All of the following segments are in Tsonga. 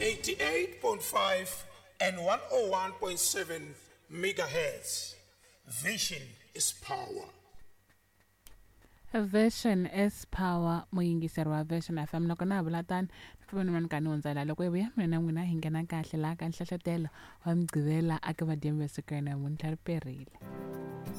88.5 and 101.7 megahertz. Vision is power. Vision is power muyingiseri wa Vision FM. Loko na ha vula tano, ni pfumela ni ka ni hundzela loko hi vuya mina na n'wina hi nghena kahle laha ka nhlohlotelo wa Mugqivela aka madyambu ya siku ra namuntlha ri perile.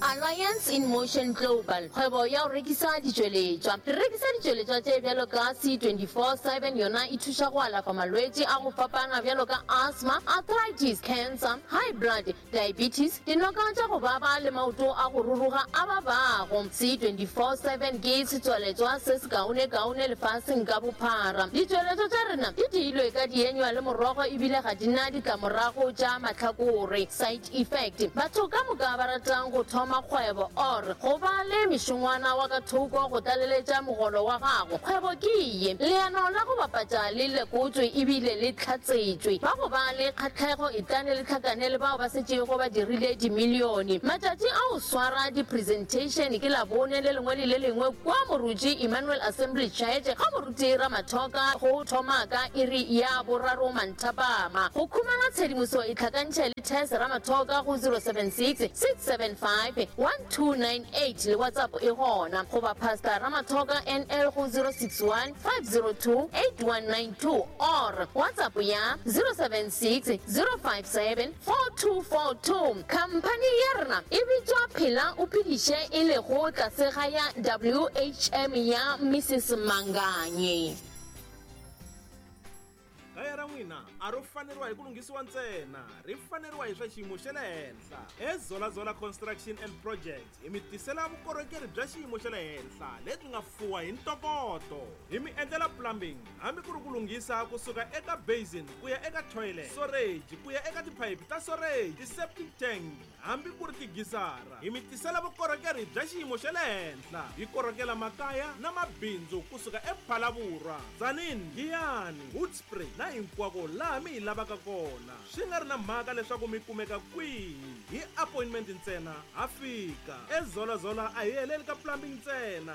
Alliance in Motion Global, kgwebo ya go rekisa ditšweletšwa. Re rekisa ditšweletšwa tše bjalo ka C24 7, yona e thuša go alafa malwetši a go fapana bjalo ka asthma, arthritis, cancer, high blood, diabetes, dinoka tša go baba le maoto a go ruruga a babago. C24 7 ke setswaletšwa se sekaonekaone lefaseng ka bophara. Ditšweletšwa tša rena di diilwe ka dienywa le morogo ebile ga di na ditlamorago tša mahlakore, side effect. Batho ka moka ba ratang go thoma kgwebo or go ba le mešongwana wa ka thoko go tlaleletša mogolo wa gago, kgwebo ke ye. Leano la go bapatša le lekotšwe ebile le hlatsetšwe. Ba go ba le kgahlego etlane le hlakane le bao ba setšego ba dirile dimilione. Matšatši a go swara di-presentation ke Labone le lengwe le le lengwe kua Moruti Emmanuel Assembly Church ga Moruti Ramathoka go thoma ka iri ya boraro manthapama. Go khumana tshedimoso itlhakantšhe le Tess Ramathoka go 076 675 1298 le WhatsApp e gona, goba Pastor Ramathoka NL go 061 502 8192 or WhatsApp ya 076 057 4242. Khamphani ya rena e bitšwa Phela o Phediše e lego tlase ga ya WHM ya Mrs Manganye. Kaya ra n'wina a ro faneriwa hi ku lunghisiwa ntsena, ri faneriwa hi swa xiyimo xa le henhla. EZola-Zola Construction and Projects hi mi tisela vukorhokeri bya xiyimo xa le henhla lebyi nga fuwa hi ntokoto. Hi mi endlela plumbing hambi ku ri ku lunghisa kusuka eka basin ku ya eka toilet, soreji ku ya eka tiphayiphi ta soreji, ti-septic tank hambi ku ri tigisara. Hi mi tisela vukorhokeri bya xiyimo xa le henhla. Hi korhokela makaya na mabindzu kusuka ePhalaborwa, Tzaneen, Giyani, Hoedspruit na hinkwako laha mi hi lavaka kona. Swi nga ri na mhaka leswaku mi kumeka kwihi, hi appointment ntsena ha fika. EZola-Zola a hi heleli ka plumbing ntsena.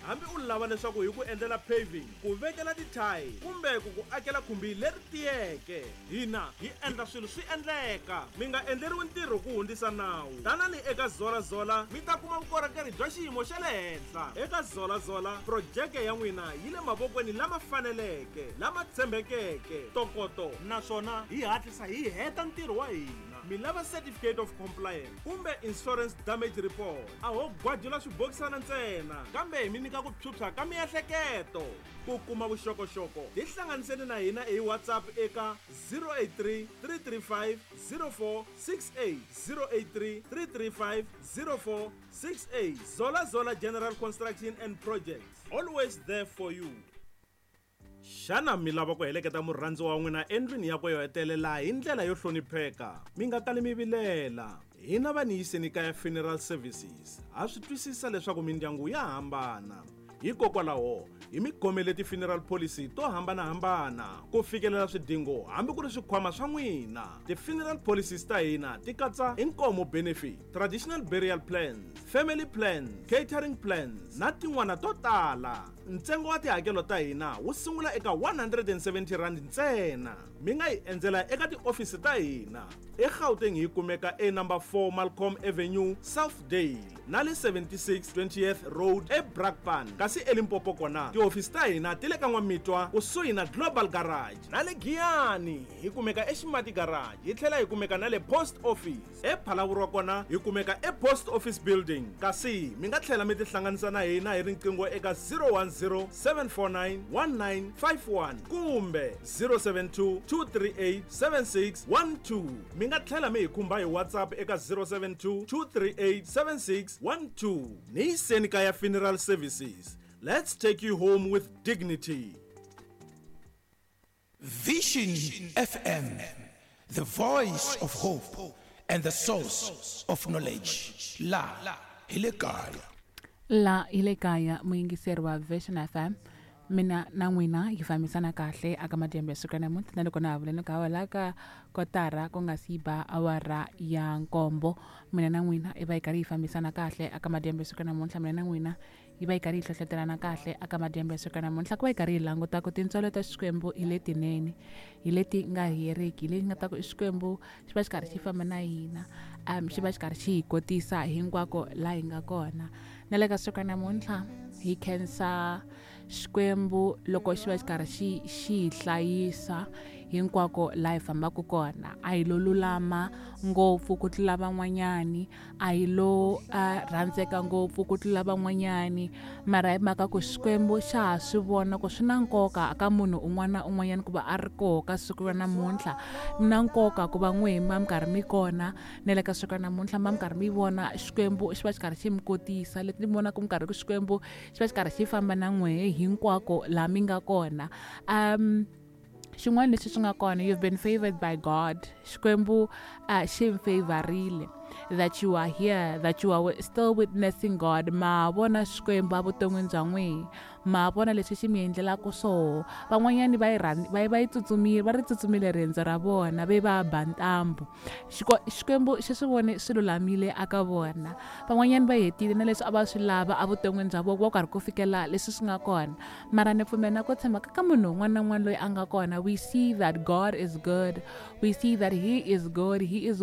Hambi u lava leswaku hi ku endlela paving, ku vekela ti-tile kumbe ku ku akela khumbi leri tiyeke, hina hi endla swilo swi endleka. Mi nga endleriwi ntirho ku hundzisa nawu. Tanani eka Zola-Zola mi ta kuma vukorhokeri bya xiyimo xa le henhla. Eka Zola-Zola, projeke ya n'wina yi le mavokweni lama faneleke, lama tshembekeke, ntokoto naswona hi hatlisa hi heta ntirho wa hina. Mi lava Certificate of Compliance kumbe Insurance Damage Report, a ho gwajula swibokisana ntsena, kambe hi mi nyika ku phyuphya ka miehleketo. Ku kuma vuxokoxoko, tihlanganiseni na hina hi WhatsApp eka 083 335 0468, 083 335 0468. Zola Zola General Construction and Projects, always there for you. Xana mi lava ku heleketa murhandziwa wa n'wina endlwini yakwe yo hetelela hi ndlela yo hlonipheka? Mi nga kali mi vilela. Hina va Niyiseni Kaya Funeral Services ha swi twisisa leswaku mindyangu ya hambana. Hikokwalaho, hi mi khomele ti-funeral policy to hambana-hambana ku fikelela swidingo hambi ku ri swikhwama swa n'wina. Ti-funeral policies ta hina ti katsa inkomo benefit, traditional burial plans, family plans, catering plans na tin'wana to tala. Ntsengo wa tihakelo ta hina wu sungula eka R170 ntsena. Mi nga hi endzela eka tiofisi ta hina eGauteng, hi kumeka e number 4 Malcolm Avenue, Southdale, na le 76 20th Road eBrakpan, kasi eLimpopo kona tihofisi ta hina ti le ka N'wamitwa kusuhi na Global Garage, na le Giyani hi kumeka eXimati Garage, hi tlhela hi kumeka na le Post Office. EPhalaborwa kona hi kumeka ePost Office Building, kasi mi nga tlhela mi tihlanganisa na hina hi riqingho eka 010 749 1951 kumbe 072 238 7612. Mi nga tlhela mi hi khumba hi WhatsApp eka 072 238 7612. Niyiseni Kaya Funeral Services, let's take you home with dignity. Vision FM, the voice of hope and the source of knowledge. La hi le kaya. La hi le kaya, muyingiseri wa Vision FM, mina na n'wina hi fambisana kahle aka madyambu ya siku ra namuntlha, na loko na ha vuleni ka la ka kotara ku nga si ba awara ya nkombo, mina na n'wina i va hi karhi hi fambisana kahle aka madyambu ya siku ra namuntlha. Mina na n'wina Yi va yi karhi yi hlohlotelana kahle aka madyambu ya siku namuntlha ku va yi karhi yi languta ku tintswalo ta Xikwembu hi letinene, hi leti nga heriki, hi leti nga ta ku Xikwembu xi va xi karhi xi famba na hina, xi va xi karhi xi hi kotisa hinkwako laha hi nga kona. Na le ka siku namuntlha hi khensa Xikwembu loko xi va xi karhi xi hi hlayisa hinkwako laha hi fambaka kona. A hi lo lulama ngopfu ku tlula van'wanyani, a hi lo rhandzeka ngopfu ku tlula van'wanyani, mara hi mhaka ku Xikwembu xa ha swi vona ku swi na nkoka ka munhu un'wana na un'wanyana ku va a ri koho ka siku ra namuntlha. Na nkoka ku va n'wehe mi va mi karhi mi kona na le ka siku ra namuntlha, mi va mi karhi mi vona Xikwembu xi va xi karhi xi mi kotisa, leti mi vonaka mi karhi ku Xikwembu xi va xi karhi xi famba na n'wehe hinkwako laha mi nga kona. Xin'wana lexi swi nga kona, you've been favored by God. Xikwembu xi mi favorile that you are here, that you are still witnessing God. Ma vona Xikwembu evuton'wini bya n'wina, ma vona leswi xi mi endlelaka swoho. Van'wanyani va yi va va yi tsutsumile, va ri tsutsumile riendzo ra vona, ve va ba ntambu. Xikwembu xi swi vone swi lulamile aka vona. Van'wanyani va hetile na leswi a va swi lava evuton'wini bya vona, va karhi ku fikela leswi swi nga kona. Mara ni pfumela na ku tshemba ka munhu un'wana na un'wana loyi a nga kona, we see that God is good, we see that he is good, he is